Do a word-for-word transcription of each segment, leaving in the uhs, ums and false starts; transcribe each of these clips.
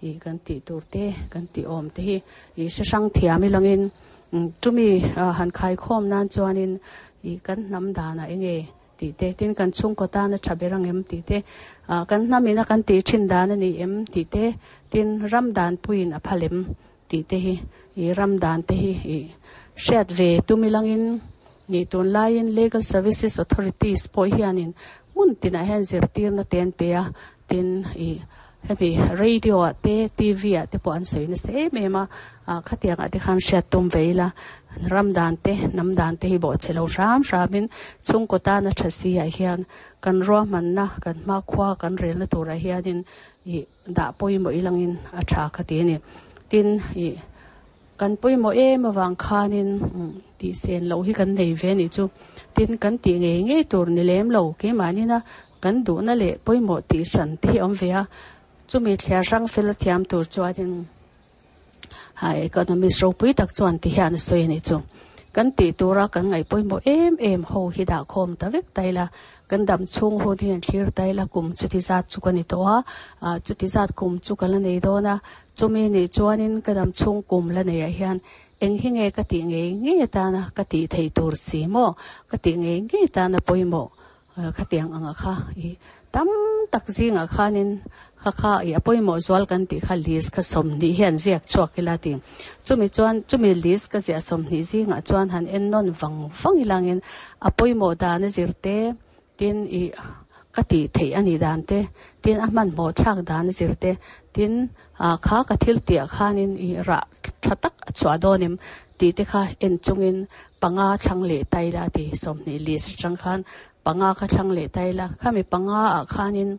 I kan tih tur te kan tih awm te hi i hre hrang thiam ilangin chumi han khai khawm nan chuanin i kan hnam danah enge tih te tin kan chhungkaw tana tha ber ang em tih te kan hnamina kan tih thin dan a ni em tih te tin ram dan puiin a phal em tih te hi i ram dan te hi i hriat ve tum ilangin ni tun laiin Legal Services Authorities pawh hianin hmun tinah hian zirtirna te an pe a tin i hemi radio ah te T V ah te pawh an sawi nasa em em a khatiang ah te khan hriat tum ve ila ram dan te hnam dan te hi bawhchhe lo hram hramin chhungkaw tana tha si ah hian kan ruahmanna kan hmakhua kan relna turah hianin i dah pawimawh ilangin a tha kha ti a ni tin i kan pawimawh em avang khanin tih sen loh hi kan nei ve anih chu tin kan tih ngei ngei tur ni lem lo keimahnina kan duhna leh pawimawh tih hran te hi a awm ve a chumi thliar hrang fel thiam tur chuanin ha economist ropui tak chuan ti hian a sawi anih chu kan tih tura kan ngaih pawimawh em em ho hi dah khawm ta vek ta ila kan dam chhung hun hi an thlir ta ila kum chuti zat chu ka ni tawh a ah chuti zat kum chu ka la nei dawn a chumi nih chuanin ka dam chhung kum la nei ah hian eng hi nge ka tih ngei ngei atana ka tih theih tur si maw ka tih ngei ngei atana pawimawh khatiang anga kha i tam tak zingah khanin kha kha i a pawimawh zual kan tih kha list kha sawmhnih hi an ziak chhuak ila ti chumi chuan chumi list ka ziah sawmhnih zingah chuan han en nawn vang vang ilangin a pawimawh dan a zir te tin i ka tih theih a nih dan te tin a hmanhmawh thlak dan a zir te tin ah kha ka thil tih ah khanin i rah tha tak a chhuah dawn em tih te kha en chungin panga thlang leh ta ila a ti sawmhnih list atang khan panga kha thlang leh ta ila khami panga ah khanin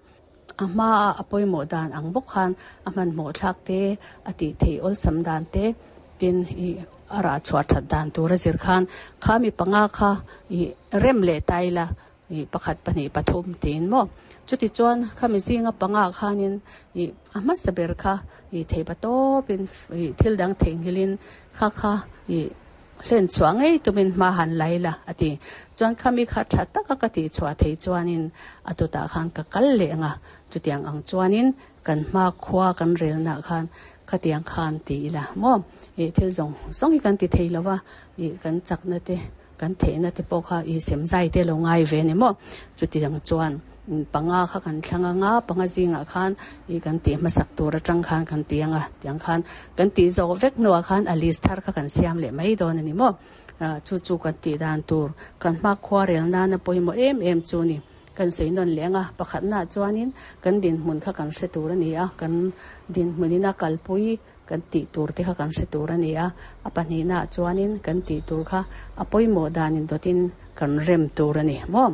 a hmaa a pawimawh dan ang bawk khan a hmanhmawh thlak te a tih theih awlsam dan te tin i a rah chhuah that dan tur a zir khan khami panga kha i rem leh ta ila i pakhat pahnih pathum tiin maw chuti chuan khami zinga panga khanin i a hmasa ber kha i theipa tawpin i thil dang theihnghilhin kha kha i hlen chhuah ngei tumin hma han la ila a ti. Chuan khami kha tha taka ka tih chhuah thei chuanin a tutah khan ka kal leh ang a, chutiang ang chuanin kan hma khua kan relnaah khan khatiang khan ti ila maw ih thil zawng zawng hi kan ti thei lo va, ih kan chakna te kan theihna te pawh kha ih sem zai te lo ngai ve a ni maw. Chutiang chuan panga kha kan thlang anga panga zingah khan ih kan tih hmasak tur atang khan kan ti anga tiang khan kan tih zawh vek hnuah khan a list thar kha kan siam leh mai dawn a ni maw. Chu chu kan tih dan tur kan hmakhua rel nana pawimawh em em chu ni. Kan sawi nawn leh anga pakhatnaah chuanin kan dinhmun kha kan hre tur a ni a, kan dinhmunin a kalpui kan tih tur te kha kan hre tur a ni a, a pahnihnaah chuanin kan tih tur kha a pawimawh danin dawtin kan rem tur a ni maw.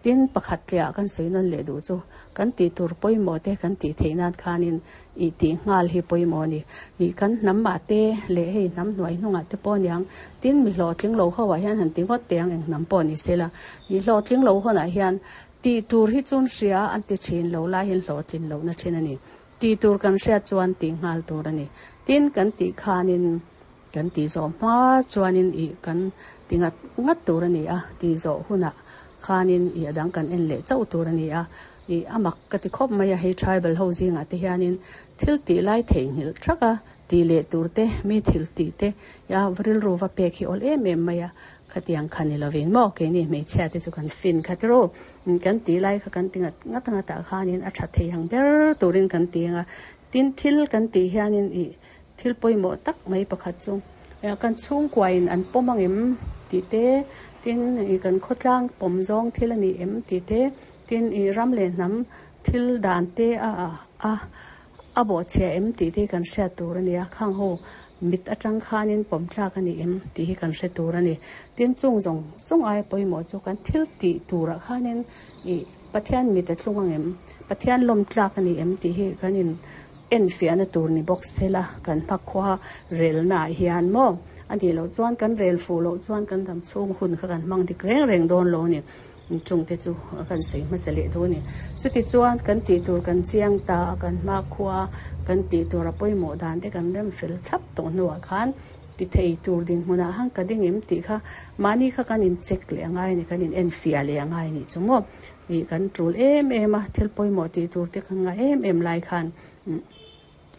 Tin, pakhat tliah kan sawi nawn leh duh chu kan tih tur pawimawh te kan tih theih nan khanin ih tih nghal hi pawimawh a ni. Ih kan hnam ah te leh hei hnam hnuai hnungah te pawh aniang tin mi hlawhtling lo ho ah hian han ti ngawt teh ang eng hnam pawh ni sela. Ih hlawhtling lo hawnah hian tih tur hi chun hria an ti thin lo lai hian hlawhtlin lohna thin a ni. Tih tur kan hriat chuan tih nghal tur a ni. Tin, kan tih khanin kan tih zawh hma chuanin ih kan ti ngat ngat tur a ni a, tih zawh hunah khanin ih a dang kan en leh chauh tur a ni a. Ih a mak ka ti khawp mai a, hei tribal ho zingah te hianin thil tih lai theihnghilh thak a, tih leh tur te, mi thil tih te ia rilru va pek hi awl em em mai a, khatiang kha ni lovin maw keini hmeichhia te chu kan fin kha tiraw kan tih lai kha kan ti ngat ngat ngat ah khanin a tha thei ang ber turin kan ti ang a, tin thil kan tih hianin ih thil pawimawh tak mai pakhat chu kan chhungkuain an pawm ang em tih te, tin ih kan khawtlang pawm zawng thil a ni em tih te, tin ih ram leh hnam thil dan te a a a bawhchhia em tih te kan hriat tur a ni a, khang ho mit atang khanin pawm thlak a ni em tih hi kan hre tur a ni. Tin chung zawng zawng aia pawimawh chu kan thil tih turah khanin ih Pathian mit a thlung ang em, Pathian lawm tlak a ni em tih hi kan in enfiahna tur ni bawk sela kan hmakhua relnaah hian maw a nih loh chuan kan rel fuh loh chuan kan dam chhung hun kha kan hmang dik reng reng dawn lo a ni. Chungte chu kan sawi hmasa leh duh a ni. Chuti chuan kan tih tur kan chiang ta a, kan hmakhua kan tih tur a pawimawh dan te kan rem fel thlap tawh hnuah khan ti thei tur dinhmunah han ka ding em tih kha mahni kha kan in check leh a ngai a ni, kan in enfiah leh a ngai a nih chu maw. Ih kan tul em em a, thil pawimawh tih tur te kan ngah em em lai khan